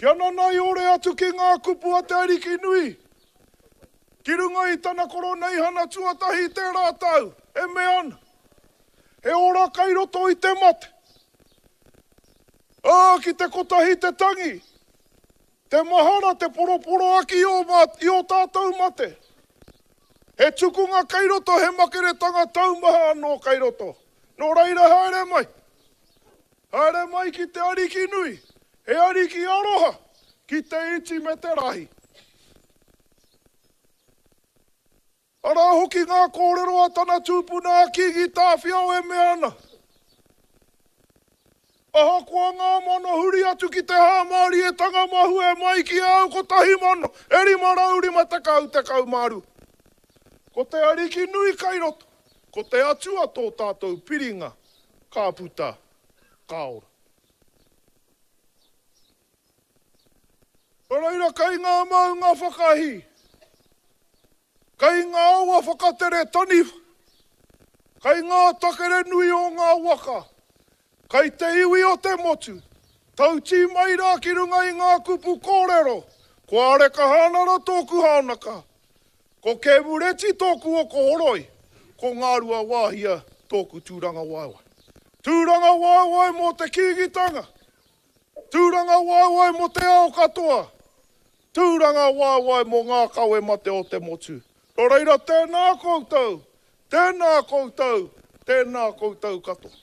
Kia nanaiore atu ki ngā kupu a te Ariki nui, ki runga i tana koroneihana tuatahi i tērā tau, e mea ana, He ora kai roto i te mate. Ā, ki te kotahi te tangi, te mahara, te poroporoaki i ō, i ō tātou mate. He tukunga kei roto, he makeretanga taumaha anō kei roto. Nō reira haere mai. Haere mai ki te Ariki nui, he Ariki aroha, ki te iti me te rahi. Arā hoki ngā kōrero a tana tupuna a Kīngi Tāwhiao e mea ana, Ahakoa ngā mano huri atu ki te hāmārietanga mahue mai ki a au 1000 e 550 12. Ko te Ariki nui kai roto, ko te Atua tō tātou piringa, ka puta, ka ora. Nō reira kei ngā maunga whakahī, kei ngā awa whakatere taniwha, kei ngā takere nui o ngā waka, kei te iwi o te motu, tautī mai rā ki runga i ngā kupu kōrero, ko Areka Hānara tōku haonaka, ko Kēmureti tōku oko horoi, ko Ngāruawāhia tōku tūrangawaewae. Tūrangawaewae mō te Kīngitanga, Tūrangawaewae mō te ao katoa. Tūrangawaewae mō ngā kawe mate o te motu. Nō reira tēnā koutou, tēnā koutou, tēnā koutou katoa.